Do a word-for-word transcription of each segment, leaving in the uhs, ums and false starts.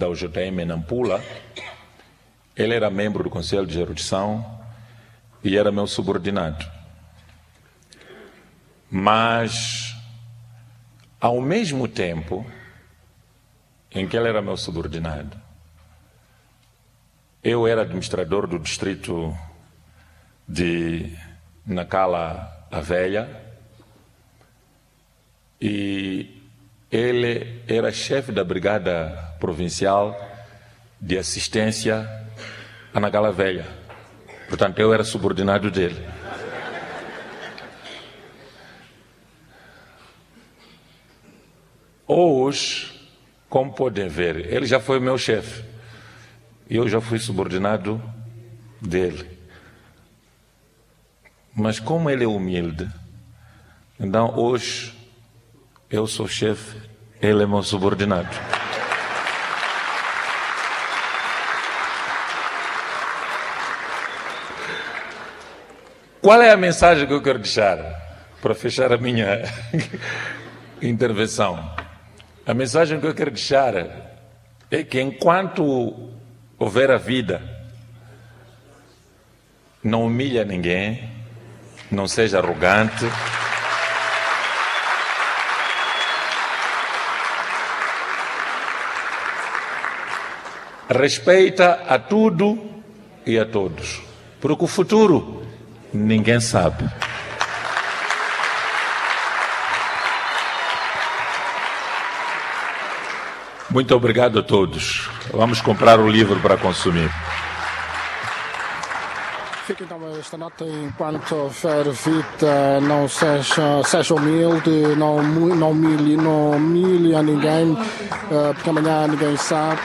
Ao joteme na mpula. Ele era membro do conselho de erudição e era meu subordinado. Mas ao mesmo tempo em que ele era meu subordinado, eu era administrador do distrito de Nakala a Velha. E ele era chefe da brigada provincial de assistência a Nakala Velha. Portanto eu era subordinado dele. Hoje, como podem ver, ele já foi meu chefe e eu já fui subordinado dele. Mas como ele é humilde, então hoje eu sou chefe, ele é meu subordinado. Qual é a mensagem que eu quero deixar para fechar a minha intervenção? A mensagem que eu quero deixar é que enquanto houver a vida, não humilha ninguém, não seja arrogante. Respeita a tudo e a todos, porque o futuro ninguém sabe. Muito obrigado a todos. Vamos comprar o livro para consumir. Fica então esta nota: enquanto houver vida, não seja, seja humilde, não, não humilhe, não humilhe a ninguém, porque amanhã ninguém sabe.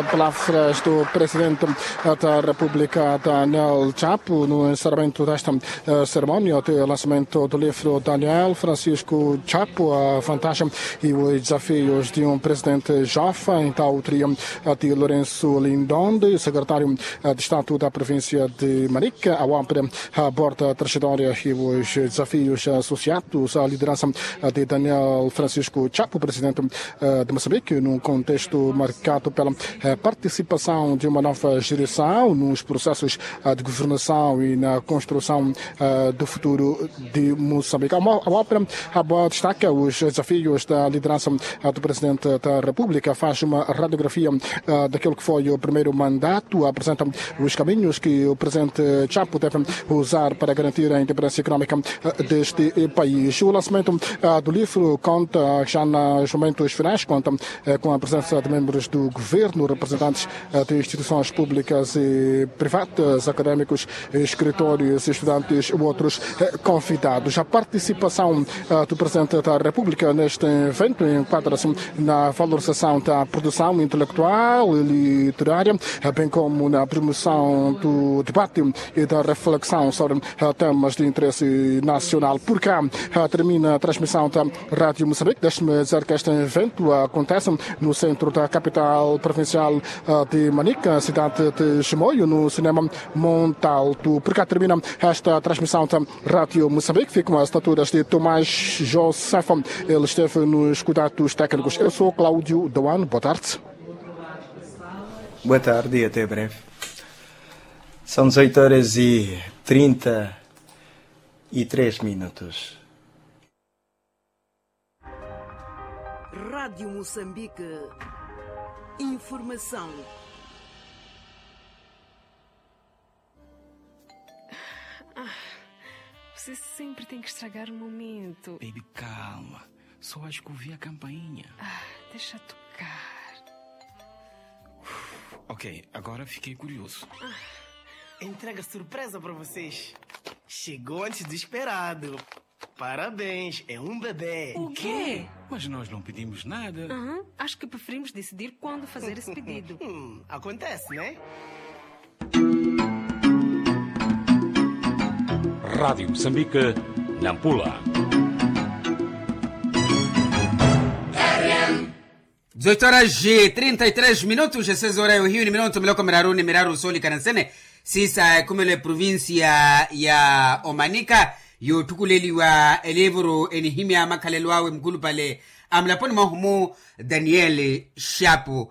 Palavras do Presidente da República, Daniel Chapo, no encerramento desta cerimónia de lançamento do livro Daniel Francisco Chapo, a vantagem e os desafios de um presidente jovem, da autoria de Lourenço Lindonde, secretário de Estado da província de Manica, ao abrir a porta trajetória e os desafios associados à liderança de Daniel Francisco Chapo, presidente de Moçambique, num contexto marcado pela participação de uma nova geração nos processos de governação e na construção do futuro de Moçambique. Ao abrir a porta, destaca os desafios da liderança do Presidente da República, faz uma radiografia daquele que foi o primeiro mandato, apresenta os caminhos que o Presidente Chapo deve usar para garantir a independência económica deste país. O lançamento do livro conta, já nos momentos finais, conta com a presença de membros do governo, representantes de instituições públicas e privadas, académicos, escritores, estudantes ou outros convidados. A participação do Presidente da República neste evento enquadra-se na valorização da produção intelectual e literária, bem como na promoção do debate e da reflexão sobre temas de interesse nacional. Por cá termina a transmissão da Rádio Moçambique. Deixe-me dizer que este evento acontece no centro da capital provincial de Manica, cidade de Chimoio, no cinema Montalto. Por cá termina esta transmissão da Rádio Moçambique. Ficam as estaturas de Tomás José. Ele esteve nos cuidados técnicos. Eu sou Cláudio Doan. Boa tarde. Boa tarde e até breve. São dezoito horas e trinta e três minutos. Rádio Moçambique. Informação. Ah, você sempre tem que estragar o momento. Baby, calma. Só acho que ouvi a campainha. Ah, deixa tocar. Ok, agora fiquei curioso. Ah. Entrega surpresa pra vocês. Chegou antes do esperado. Parabéns, é um bebê. O quê? Mas nós não pedimos nada. Aham, acho que preferimos decidir quando fazer esse pedido. Hum, acontece, né? Rádio Moçambique, Nampula. Dezoito horas e trinta e três minutos, esses horários hiyo ni minuto miloko miraru ni miraru solikana nsene. Sisa ekumelo eprovincia ya Omanika, yoottukuleliwa elivuru enihimya makhalelo awe mukulupale a mulaponi mwahu-mu, Daniel Shapu.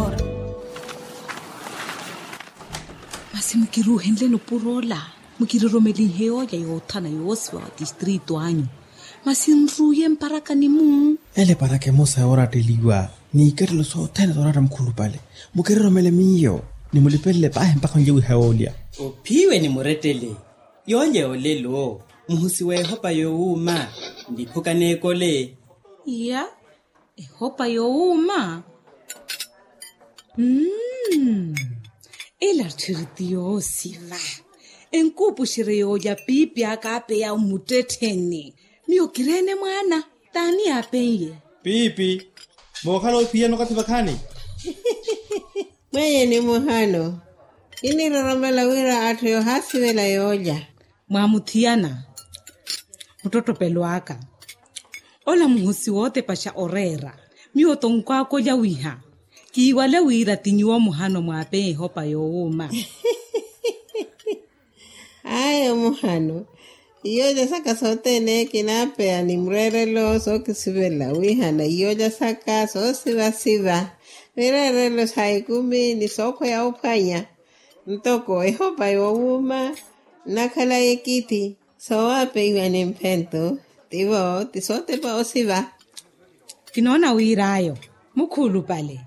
Masi mukiruuhenle nupuro ola, mukiroromelinhe yoolya yoothana yoosiva wa tistrito anyu. Masi nruuye mparaka ni muu. Ele paraka emosa yooratteliwa, n'ikattelo sothene sooratta mukhulupale. Mukiroromele miyo, ni mulipelele paahi mpakha onlye wiha yoolya. Ophiwe ni murettele. Yoolya yoolelo, muhusi w'ehopa yoowuuma, nliphuka n'ekole. Iya. Ehopa yoowuuma. Mmm. Ela tthiri ti yoosiva. Enkuupuxerye yoolya piipi aka apeya mmuttettheni. Miyo kireene mwaana. T'ani yaapen'ye? Piipi. Mookhala ophiyana okathi vakhaani. Mwenye ni muhano. Kiniroromela wira atthu yoohaasivela yoolya. Mwaamuthiyana. Muttottopelo aka. Ola muhusi wootepaxa oreera. Miyo tonkwaaka olya wiha. Kiiwale wira ti nyuwo muhano mwaapeya ehopa yoowuuma. Ayo muhano. Iyoolya saka sothene kinaapeya ni mureerelo sookisivela wihana iyoolya saka soosivasiva. Mireerelo sa ekumi ni sookhweya ophwanya. Ntoko ehopa yoowuuma nnakhala ekithi. Soowapeiwa ni mphento. Tivo ti sootepa osiva. Kinoona wir'ayo. Mukhulupale.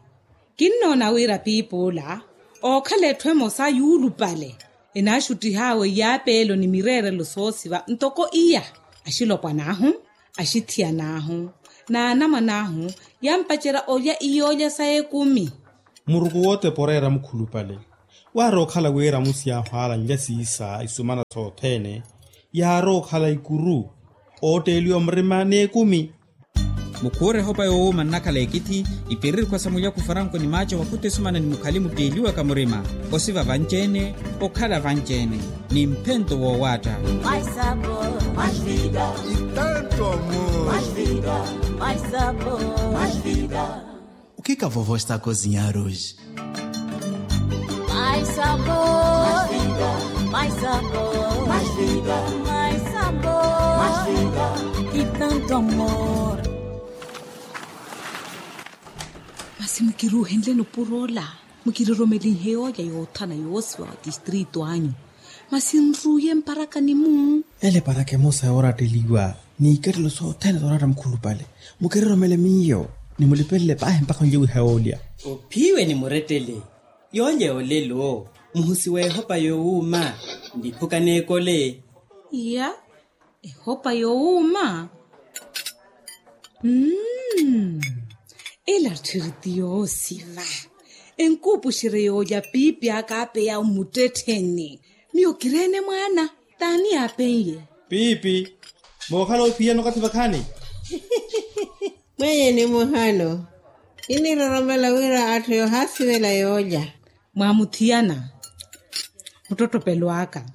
Kinnoona wira piipi ola ookhala etthu emosa yuulupale. Enaaxuttih'awe iyaapeelo ni mireerelo soosiva ntoko iya. Axilopwana ahu, axithiyana ahu, n'anamwane ahu yampacerya olya iyoolya sa ekumi. Muruku wootepa oreera mukhulupale. Waari okhala wira musi yaahu aalanlya siisa isumana sothene, yaari okhala ikuru ootteeliwa murima n'ekumi. Mukhuure ehopa yoowuuma nnakhala ekithi, ipiriri khwasa mulyaku faranko ni maaco wakhuta esumana ni mukhali mutteeliwaka murima, osiva vanci-ene, okhala vanci-ene, ni mphento woowaatta. Itanto amor. O que que a vovó está a cozinhar hoje? Mais sabor, mais vida, mais sabor, mais vida, mais sabor, mais vida, e tanto amor. Masi mukiruuhenleni opuro ola, mukiriromelinhe yoolya yoothana yoosiva wa tistrito anyu. Masi nruuye mparakani-mu. Ele paraka emosa yooratteliwa, n'ikattelo sothene sooratta mukhulupale. Mukiriromele miyo, ni mulipelele paahi mpakha onlye wiha yoolya. Ophiwe ni murettele, yoolya yoolelo, muhusi w'ehopa yoowuuma, niphuka n'ekole. Iya, ehopa yoowuuma. Mm. Ela tthiri ti yoosiva. Enkuupuxerye yoolya piipi aka apeya mmuttettheni. Miyo kireene mwaana, t'ani yaapen'ye? Piipi, mookhala ophiyana okathi vakhaani? Mwenye ni muhano, kiniroromela wira atthu yoohaasivela yoolya. Mwaamuthiyana muttottopelo aka.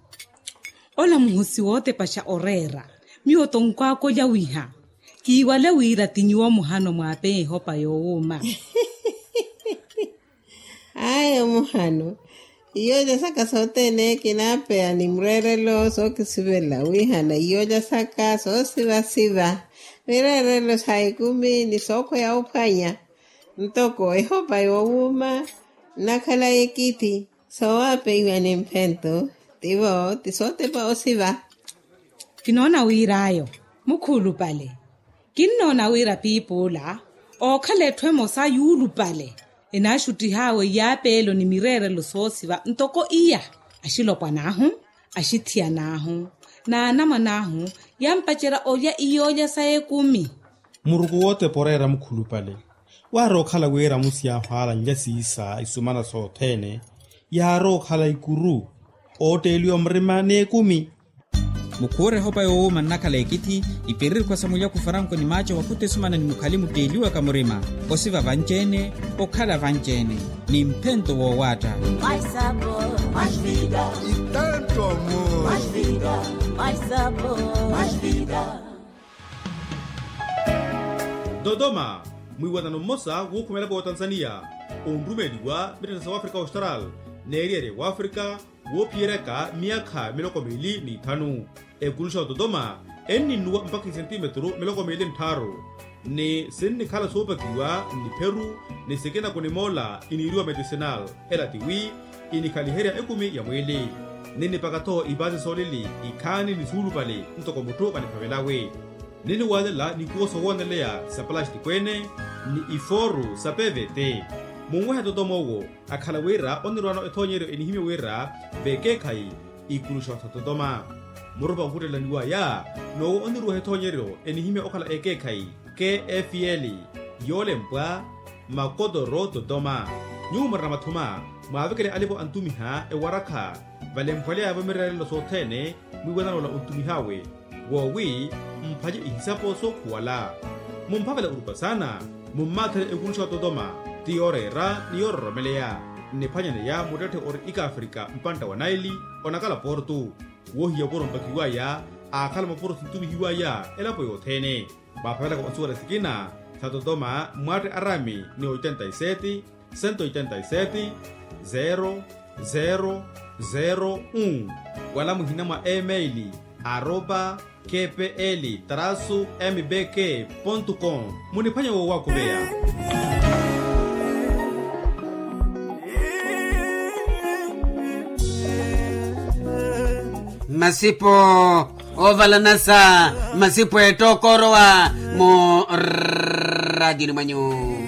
Ola muhusi wootepaxa oreera, miyo tonkwaaka olya wiha. Kiiwale wira ti nyuwo muhano mwaapeya ehopa yoowuuma. Ayo muhano, iyoolya saka sothene kinaapeya ni mureerelo sookisivela wihana iyoolya saka soosivasiva, mireerelo sa ekumi ni sookhweya ophwanya. Ntoko ehopa yoowuuma nnakhala ekithi, soowapeiwa ni mphento, tivo ti sootepa osiva. Kinoona wir'ayo, mukhulupale. Kinnoona wira piipi ola ookhala etthu emosa yuulupale, enaaxuttih'awe iyaapeelo ni mireerelo soosiva ntoko iya. Axilopwan'ahu, axithiyan'ahu, n'anamwan'ahu, yampacerya olya iyoolya sa ekumi. Muruku wootepa oreera mukhulupale. Waari okhala wira musi yaahu aalanlya siisa isumana sothene, yaari okhala ikuru ootteeliwa murima n'ekumi. Mukhuure ehopa yoowuuma nnakhala ekithi, ipiriri khwasa mulyaku faranko ni maaco wakhuta esumana ni mukhali mutteeliwaka murima, osiva vanci-ene, okhala vanci-ene, ni mphento woowaatta. Itanto amor. Dodoma, mwiiwanano mmosa wuukhumela pootanzaniya, onrumeeliwa mittetta sa wafrika austral, n'eriyari ya wafrika, woophiyeryaka myaakha miloko miili n'ithanu. Ekuluxa ototoma enninnuwa mpakha isentimetru miloko miili nttharu, ni sinnikhala soopakiwa nnipheru, ni sikina kunimoola iniiriwa medicinal. Ela tiwi inikhaliherya ekumi ya mwiili, ninnipaka-tho ipaasi soolili ikhaani ni suulupale ntoko mutthu kaniphavelawe. Niniwaalela nikuwo sowooneleya sa palastiko-ene, ni ifooru sa pevete. Munwehe totoma owo akhala wira onirwaano ethoonyeryo enihimye wira vekeekhayi ikuluxa sa totoma. Murupa okhuttelaniwaya n'owo oniruweha ethoonyeryo enihimye okhala ekeekhayi, kfl, yoolempwa makotoro totoma. Nyuwo murina mathuma, mwaavekele alipo antumiha ewarakha, valemphwalyaya-vo mireerelo sothene, mwiiwanano ola ontumih'awe. Woowi mphwanye ihisapo sookhuwala. Mumphavela orupa saana, mummaatherye ekuluxa ototoma, ti yooreera ni yoororomeleya. Nniphwanyaneya muttetthe ori ikaafrika mpantta wa naili, onakala portu. Woohiya opuro mpakiwaya, aakhala mapuro sintumihiwaya elapo yothene. Mwaaphavelaka onsuwela sikina sa totoma, mwaatte arami ni oitenta y sete, cento oitenta y sete, zero, zero, zero, un, wala muhina mwa email, arroba, kpl, trasu, mbk, pontu com. Muniphwanye woowakumeya. Masipo oovalanasa, masipo ettookorowa mu radioni mwanyu.